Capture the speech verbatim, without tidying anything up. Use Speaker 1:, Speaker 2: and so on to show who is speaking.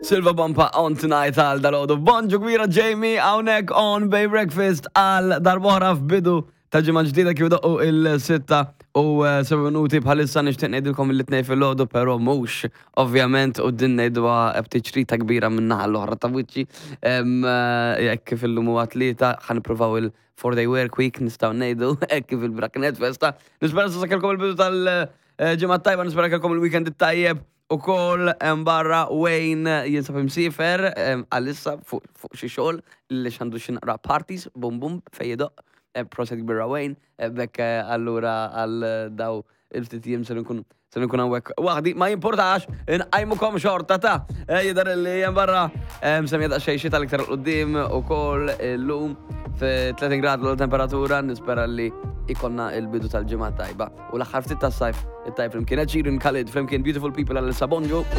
Speaker 1: Silva Bumpa on tonight għal dalgħodu. Bonġu kbira, Jamie, hawnhekk on Bay Breakfast għal darb'oħra f'bidu ta' ġimgħa ġdida kif doqqu il-sitta u eh, seba' minuti bħalissa. Nixtieq ngħidilkom it-Tnejn filgħodu, però mhux ovvjament, u din ngħiduha b'tiċrita kbira minn naħa l-oħra ta' wiċċi. Em, eh, Jekk kif illum huwa Tlieta, ħa nippruvaw il-four day work week, nistgħu ngħidu hekk kif il-braknet festa. Nispera sa kellkom il-bidu tal-ġimgħa tajba, nispera kellkom il-weekend it-tajjeb. U kol barra Wayne jinsab imsiefer em, għalissa fuq fuq xi xogħol li xandu xi naqra parties, bum bum, fej idoqq, eh, proset kbira Wayne, eh, bekk eh, allura għal daw il-ftit jiem se nkun se nkun hawnhekk waħdi, ma jimportax, inqajmukom xorta ta' Eh, jidher li hemm barra semja daqsxejn xita l-iktar quddiem ukoll illum fi tletin grad l-temperatura. Nispera li ikollna il-bidu tal-ġimgħa tajba u l-aħħar ftit tas-sajf it-tajb flimkien. Ed Sheeran, Khalid flimkien, Beautiful People għal Sabonġu.